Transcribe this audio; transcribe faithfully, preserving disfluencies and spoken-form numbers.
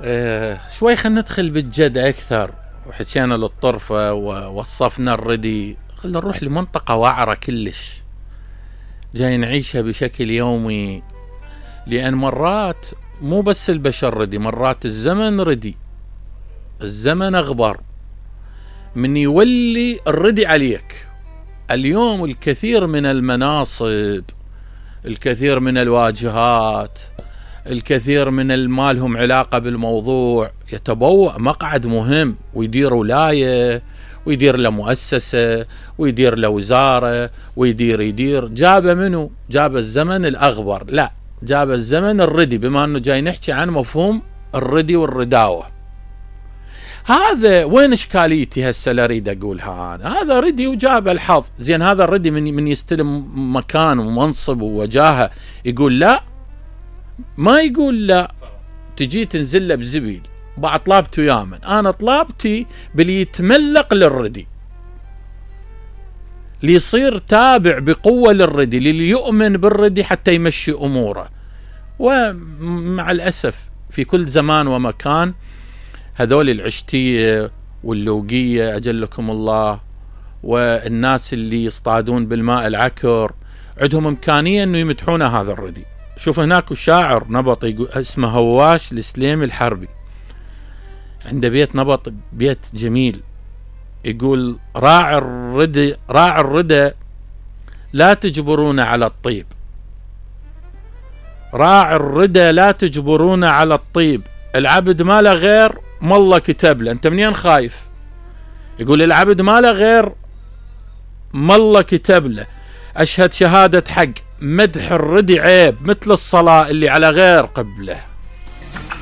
اه شوي خلينا ندخل بالجد اكثر، وحكينا للطرفة ووصفنا الردي. خلينا نروح لمنطقة وعرة كلش جاي نعيشها بشكل يومي، لان مرات مو بس البشر ردي، مرات الزمن ردي، الزمن اغبر من يولي الردي عليك. اليوم الكثير من المناصب، الكثير من الواجهات، الكثير من المالهم علاقة بالموضوع يتبوأ مقعد مهم ويدير ولاية ويدير له مؤسسة ويدير له وزارة ويدير يدير. جاب منه؟ جاب الزمن الأغبر؟ لا، جاب الزمن الردي، بما أنه جاي نحكي عن مفهوم الردي والرداوة. هذا وين إشكاليتي هسه اللي أريد أقولها أنا؟ هذا ردي وجاب الحظ. زين هذا الردي من, من يستلم مكان ومنصب ووجاهة يقول لا؟ ما يقول لا. تجي تنزل له بزبيل. بعد طلبت ويامن، أنا طلبتي باللي يتملق للردي، ليصير تابع بقوة للردي، للي يؤمن بالردي حتى يمشي أموره. ومع الأسف في كل زمان ومكان هذول العشتية واللوقية أجلكم الله، والناس اللي يصطادون بالماء العكر عندهم إمكانية أنه يمدحون هذا الردي. شوف هناك شاعر نبط اسمه هواش السليمي الحربي، عنده بيت نبط، بيت جميل، يقول راعي الردى راعي الردى لا تجبرون على الطيب، راعي الردى لا تجبرون على الطيب، العبد ما له غير ما الله كتب له. انت منين خايف؟ يقول العبد ما له غير ما الله كتب له. اشهد شهادة حق، مدح الردي عيب مثل الصلاة اللي على غير قبله.